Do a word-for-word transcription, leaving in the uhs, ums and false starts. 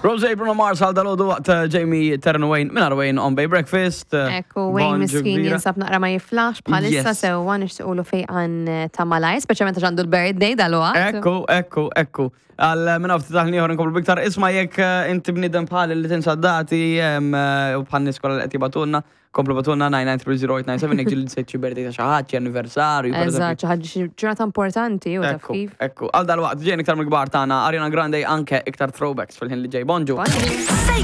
Rose, Bruno Mars għal dal-għodu waqt eh, Jamie Terno Wayne minn Wayne on Bay Breakfast. eh, Ekku, Wayne Bonġu miskin kbira. jinsab naqra ma jiflax bħalissa. Yes. Sewwa, nixtiequlu fejqan eh, ta' malaj, speċjalment għax għandu l-birthday dal-waqt. Ekku, ekku, ekku. Għal minn ftit taħni ieħor nkomplu biktar. Isma', jekk eh, inti bniedem bħal li tinsa dati em, eh, u bħal nies kollha li qed jibagħtulna, komplu ibagħtulna nine nine three zero eight nine seven jekk ġieli nsejt xi birthday ta' xi ħadd, xi anniversarju, per Eżatt, eżempju. xi ħaġa, xi ġurnata importanti u taf Ekku, kif. ekku. Għal dal-waqt ġejn iktar mill-kbar tagħna Ariana Grande, anke iktar throwbacks fil-ħin li ġej. Bonġu. Bonġu.